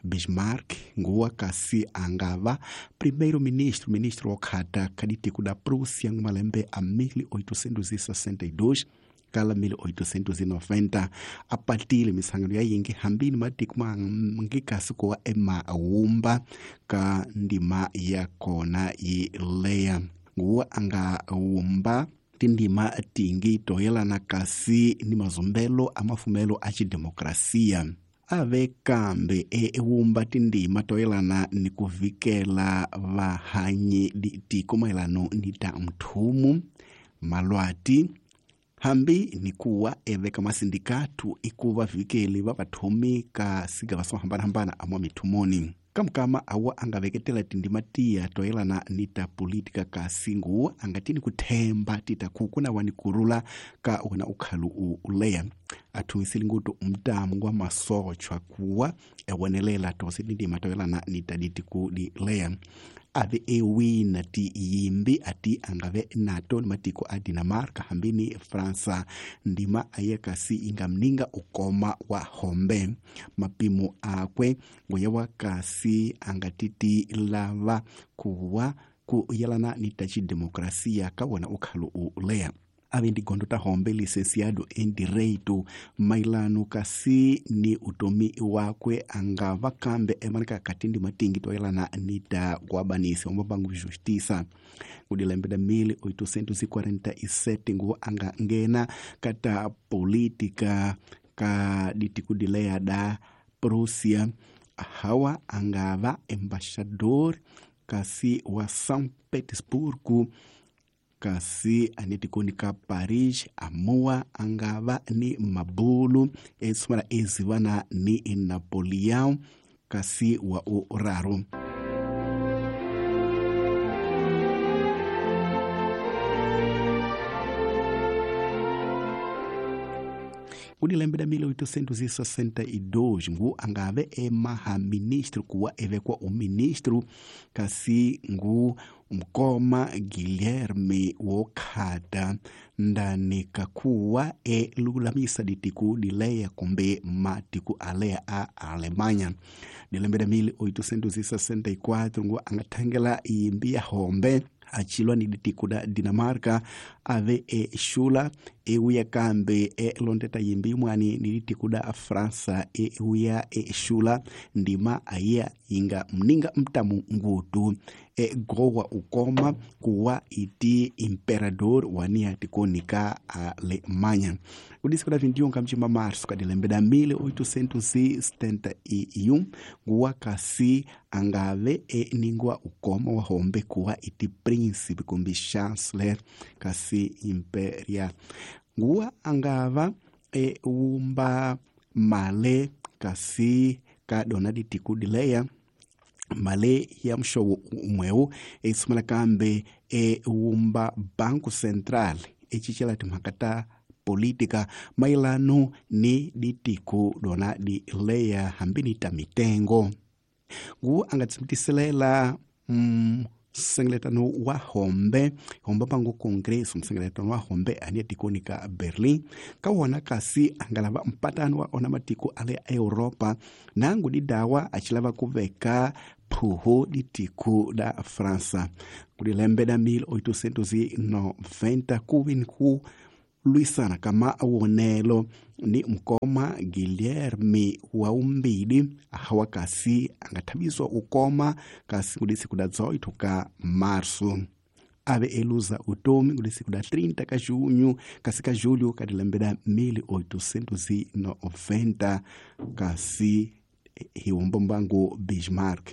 Bismarck nguwa kasi angava primeiro-ministro, ministro wokhata kaditiku da Prússia mu malembe a 1862 kala 1890 apatile misangano ya yingi hambini matiku mangi kasi kuwa emawumba ka ndima ya kona yi leya nguwa anga wumba tindima tingi toyelana kasi ni mazumbelo a mafumelo a xidemokrasia ave kambe ewumba tindima toyelana ni ku vikela vahanyi tiko mayelano ni ta mthumu malwati hambi ni kuwa eveka masindikatu ikuva vikeli va vathumi ka sigava swo hambanahambana amwa mithumoni kamukama awa angaveketela tindima tiya toyelana ni ta politika kasi nguwa angatini kuthemba tita kuku na wani kurula ka wona ukhalu uleya athumisile ngutu mtamu wa masochwa kuwa ewonelela tose tindima toyelana ni ta ditiku dileya ave ewina ti yimbi ati angave nato ni matiko a Dinamarca hambi ni Fransa ndima aye kasi ingamninga ukoma wa hombe mapimo akwe ngoya wa kasi angatiti lava kuwa ku yelana ni ta xidemokrasia ka wona ukhalu uleya ave ndi gondo ta hombe licenciado em direito mailano kasi ni utomi wakwe angava kambe emanika katindi matingi toyelana ni ta kuabanisi ombabangu justiça kudilembe da 1847 nguwa anga ngena kata política ka ditikudileya da Prússia hawa angava embaixador kasi wa São Petersburgo kasi anetikoni ka Paris amuwa angava ni mabulu esumala ezivana ni Napoleão kasi wa uraru. Kudilembe da 1862 ngu angave emaha ministro kuwa evekwa uministro kasi ngu mkoma Guilherme wokhata ndani kakuwa elulamisa ditiku dileya kumbe matiku aleya a Alemanha. Dilembe da 1864 ngu angathangela imbi ya hombe achilwa ni ditiku da Dinamarca ave exula ewuya kambe elondeta yimbi imwani ni ditiku da França ewuya exula ndima ayiya inga mninga mtamu ngutu egowa ukoma kuwa iti imperador wania tikoni ka Alemanha. Kudisi kuda 21 kamchimba março kadilembe da 1871 nguwa kasi angave eningwa ukoma wa hombe kuwa iti príncipe kumbi chancellor kasi imperial nguwa angava ewumba male kasi ka dona ditiku dileya male ya mxowo umwewu esumela kambe ewumba Banco Central ecicela timhaka ta política mailano ni ditiku dona dileya hambi ni ta mitengo ngu angatsimitiselela msengeletano wa hombe hombe pangu congresso msengeletano wa hombe ania tikoni ka Berlin ka wona kasi angalava mpatano wa ona matiko ale a Europa nangu didawa achilava kuveka phuhu ditiku da França kudilembe da 1890 kuvi ni ku lwisana kama wonelo ni mkoma Guilherme wa umbili hawa kasi angathabiswa ukoma kasi kudisi kuda 18 ka março ave eluza utomi kudisi kuda 30 ka junho kasi ka julho kadilembe da 1890 kasi hiwombombango Bismarck.